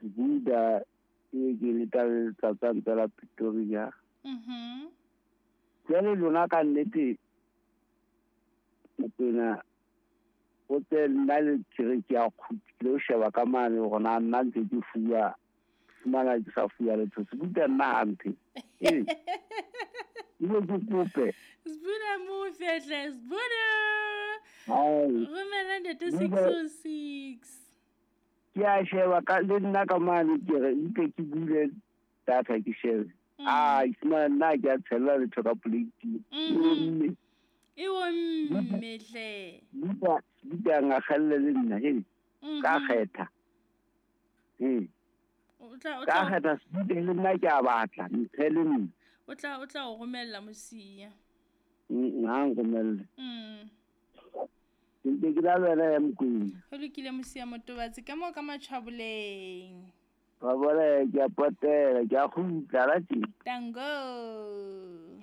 Buda e ke le tla tla Pretoria. Jwale lona ka nnete Mokwena o tse nna le kere ke a kgutlile o sheba ka mane hore na nna ntse ke fuwa fumana ke sa fuwa letho Sebuda nna hampe. Ee. Ile ke kope. Sebuda mo fehle Sebuda. Romela ntate 606. Ke a sheba ka le nna ka mane ke re mpe ke bule data ke shebe. Ah, fumana nna ke a tshela letho ka plate. Mme. E o mme hle. Buda buda ngakgelle le nna he. Ka kgetha. O tla Ka kgetha Sebuda le nna ke a batla mphe le nna. O tla o romella mosia. Ha nromelle. Ntse ke la wena ya Mokwena. Ho lokile mosia Motobatsi ka mo ka matjhaboleng. Ba bona ke a potela ke a kgutla la teng. Tango.